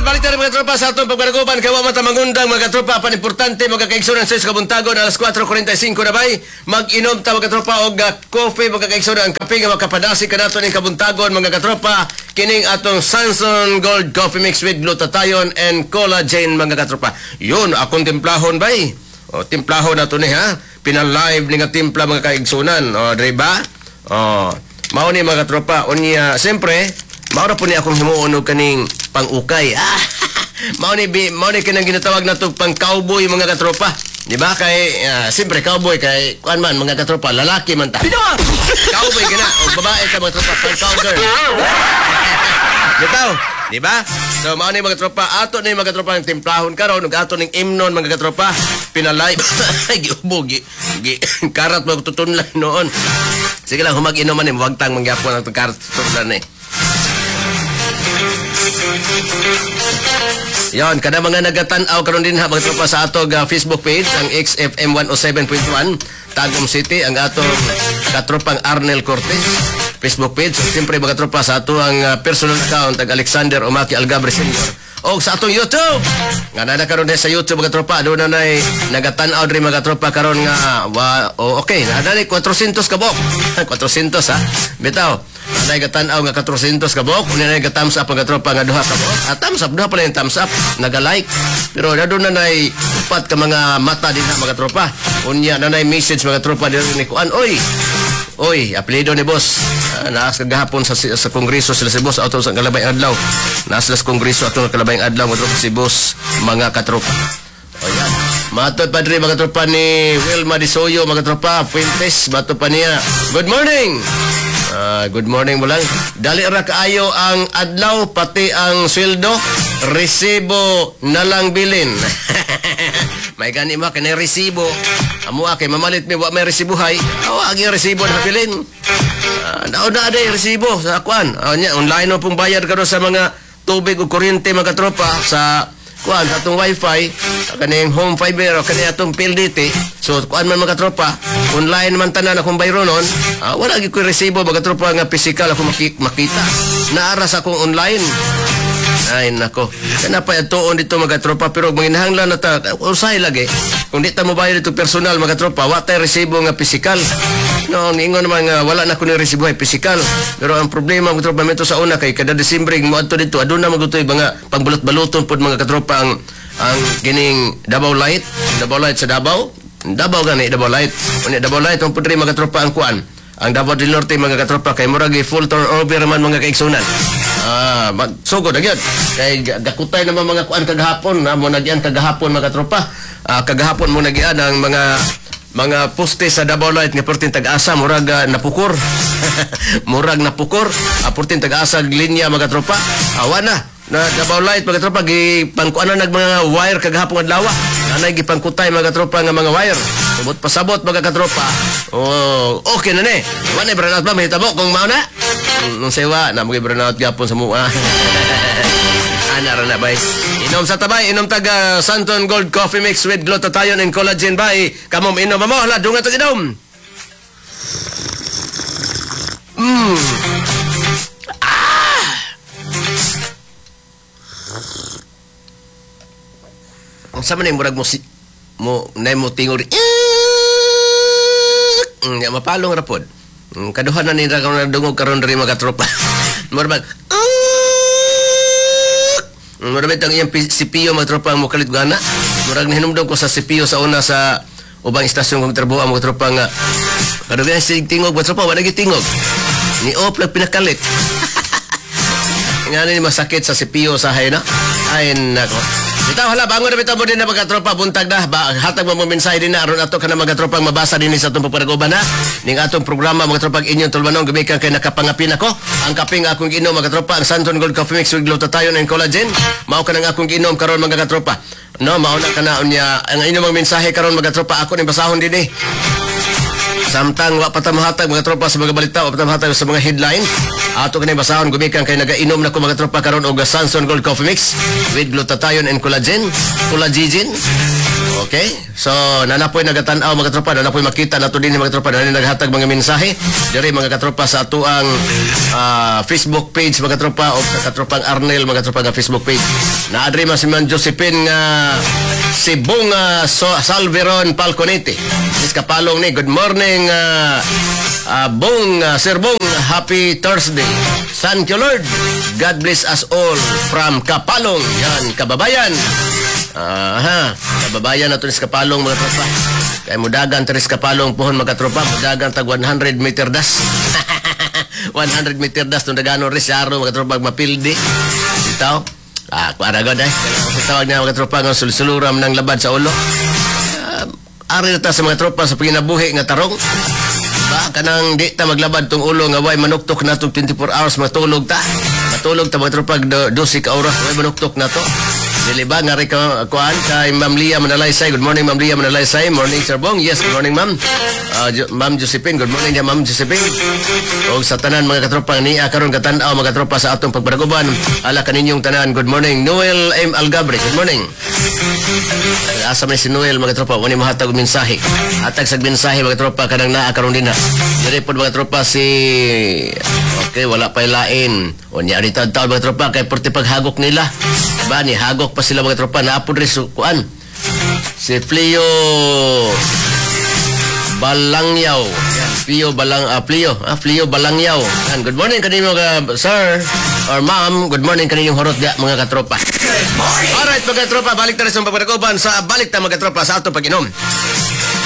Alright, balik tayo, mga tropa, sa atong pagpanaguban. Kay wa man ta mangundang, mga tropa, pan importante, mga kaigsunan, sa kabuntagon, alas 4:45 na bay. Mag-inom ta, mga tropa, og coffee, mga kaigsunan, ang kape nga makapadasi kanato ning kabuntagon, mga katropa, kining atong Sanson Gold Coffee Mix with glutathione and collagen, mga katropa. Yun, akong timplahon bay. O, timplahon na to ni ha. Pinalive ni nga timpla, mga kaigsunan. O, di ba? O, mao ni, mga katropa. Unya, siyempre, mao ra po ni akong himuon og kaning pang-ukay. Ah, mao ni kanang ginatawag nato pang cowboy, mga katropa. Di ba? Kay siyempre cowboy kay kuan man, mga katropa, lalaki man ta. Cowboy ka na o babae ka, mga tropa, pang cowgirl. Bitaw, di ba? So mao ni, mga tropa, ato ni, mga tropa, ang timplahon karon ug ato ning imnon, mga katropa. Pinalay giubo gi, gi karat mo tutunlan noon. Sige lang, humag-inom man ni, wagtang mangyapon ang karat tutunlan eh. Yon, kada mga nagatan-aw karon din ha, mga tropa, sa atong Facebook page, ang XFM 107.1 Tagum City, ang atong katropang Arnel Cortez Facebook page. So, siyempre, mga tropa, sa ato ang personal account, ang Alexander Omaki Algabre Sr. O sa atong YouTube. Nga na karon sa YouTube, mga tropa, doon na nay nagatan-aw diri, mga tropa, karon nga wa, oh, okay, na 400 kabok. 400 ha. Bitaw. Nay gatan-aw nga 400 kabok, unya nay thumbs up, mga tropa, nga duha kabok. Ah, thumbs up, duha pala yung thumbs up, naga-like. Pero na doon na nay upat ka mga mata din ha, mga tropa. Unya na nay message, mga tropa, diri ni kuan, oy. Oy, apelyido ni boss. Ah, naas kagahapon sa kongreso sila si boss ato sa kalabayng adlaw. Naas sila sa kongreso ato sa kalabayng adlaw, mga tropa, si boss, mga katropa. O yan. Matod pa diri, mga tropa, ni Wilma Disoyo, mga tropa, Fuentes, matod pa niya. Good morning. Ah, good morning mo lang. Dali ra kaayo ang adlaw pati ang sweldo, resibo na lang bilin. May gani mo kay resibo. Amo kay mamalit mi wa may resibuhay. Awa ang resibo na bilin. Nauna day resibo sa kuan. Nya online mo pong bayad karon sa mga tubig ug kuryente, mga tropa, sa kuan, sa atong wifi, kaning home fiber o kaning atong PLDT. So kuan man, mga tropa, online man tanan akong bayronon. Wala gyud koy resibo, mga tropa, nga physical ako makita. Naara sa akong online. Ay nako. Kana pa atuon dito, mga tropa, pero manginahanglan na ta usay lagi. Kung di ta mo bayad dito personal, mga tropa, wa tay resibo nga physical. No, niingon naman nga wala na ko ni resibo ay physical. Pero ang problema, mga tropa, mito sa una kay kada Disyembre moadto dito aduna magutoy mga pangbalot-baluton pod, mga katropa, ang kining Davao Light, Davao Light sa Davao. Davao gani Davao Light. Unya Davao Light ang pudri, mga tropa, ang kuan. Ang Davao del Norte, mga katropa, kay murag full turnover man, mga kaigsunan. Ah, magsugod na gyud. Kay gakutay naman mga kuan kagahapon, na mo nagyan kagahapon, mga katropa. Ah, kagahapon mo nagyan ang mga poste sa Davao Light nga perting tag-asa murag napukor. Murag napukor. Perting tag-asa linya, mga tropa. Awa na na Davao Light, mga tropa, gipangkuan na nag mga wire kagahapon adlaw. Nanay gipangkutay, mga tropa, nga mga wire. Subot pasabot, mga katropa. Oh, okay na ni. Wa na brownout ba mahitabo kung mao na? Nung sewa na mo brownout gyapon sa mua. Ana ra na bay. Inom sa tabay, inom taga Santon Gold Coffee Mix with glutathione and collagen bay. Kamom inom mo, hala dunga to inom. Ah! Ang sama na yung murag mo si mo na mo tingog ya mapalong ra pod. Kaduha na nila karon nadungog karon diri, mga tropa. Murag mag murag bitang iyang CPU, mga tropa, ang mukalit gana. Murag nahinumdum ko sa CPU sa una sa ubang istasyon kong trabaho, mga tropa, nga kaduha si tingog, mga tropa, wala tingog. Ni op lang pinakalit. Nga ni masakit sa CPU sa hay na. Ay nako. Bitaw hala bangon na bitaw mo din na, mga tropa, buntag na ba, hatag mo mo mensahe din na aron ato ka na, mga tropang, mabasa din sa atong pagpanaguban na ning atong programa, mga tropang, inyong tulumanon gumikan kay nakapangapin ako. Ang kaping akong giinom, mga tropa, ang Santon Gold Coffee Mix with glutathione and collagen. Mao ka nang akong giinom karon, mga katropa, no? Mao na kana. Unya ang inyong mga mensahe karon, mga tropa, ako ning basahon din eh. Samtang wa pa ta mohatag, mga tropa, sa mga balita, wa pa ta mohatag sa mga headline. Ato kani basahon gumikan kay nagainom na ko, mga tropa, karon og Sanson Gold Coffee Mix with glutathione and collagen, collagen. Okay? So, naa na poy nagatan-aw, mga tropa, naa na poy makita nato din, mga tropa, naa naghatag mga mensahe diri, mga katropa, sa atuang Facebook page, mga tropa, o sa katropang Arnel, mga tropa, nga Facebook page. Naadri man si Ma'am Josephine nga Sibong so, Salveron Falconetti. Is Kapalong ni. Good morning, Bong, Sir Bong, happy Thursday. Thank you, Lord. God bless us all from Kapalong. Yan, kababayan. Aha, kababayan nato ni sa Kapalong, mga tropa. Kay mudagan ta sa Kapalong pohon, mga tropa, mudagan tag 100 meter dash. 100 meter dash tong dagano rin siya mga tropa, mapildi. Bitaw. Ah, kuara god eh. Sa tawag niya, mga tropa, nga sulsuluram ng labad sa ulo. Ari na ta sa mga tropa sa panginabuhi nga tarong. Ba kanang di ta maglabad tong ulo nga way manuktok na tong 24 hours, matulog ta. Matulog ta, mga tropa, 12 ka oras way manuktok na to. Dili ba nga rin ka kuan kay Ma'am Lia Manalaysay. Good morning, Ma'am Lia Manalaysay. Morning, Sir Bong. Yes, good morning, Ma'am. Ma'am Josephine, good morning niya, Ma'am Josephine. Og sa tanan mga katropa niya karon katan-aw, mga katropa, sa atong pagpadaguban. Ala kaninyong tanan. Good morning. Noel M. Algabre. Good morning. Asa man si Noel, mga tropa, wani mohatag og mensahe. Hatag sa mensahe, mga tropa, kanang naa karon dinha. Diri pod, mga tropa, si. Okay, wala pa lain. Unya dito taon, mga tropa, kay porte paghagok nila. Ba ni hagok pa sila, mga tropa, naa pod ri kuan. Si Fleo Balangyaw. Yan, Fleo Balang Fleo, Fleo Balangyaw. Yan, good morning kanino ka, sir or ma'am. Good morning kaninyong horot dia, mga katropa. Alright, mga katropa, balik tayo sa pagpadaguban sa balik ta, mga katropa, sa atong pag-inom.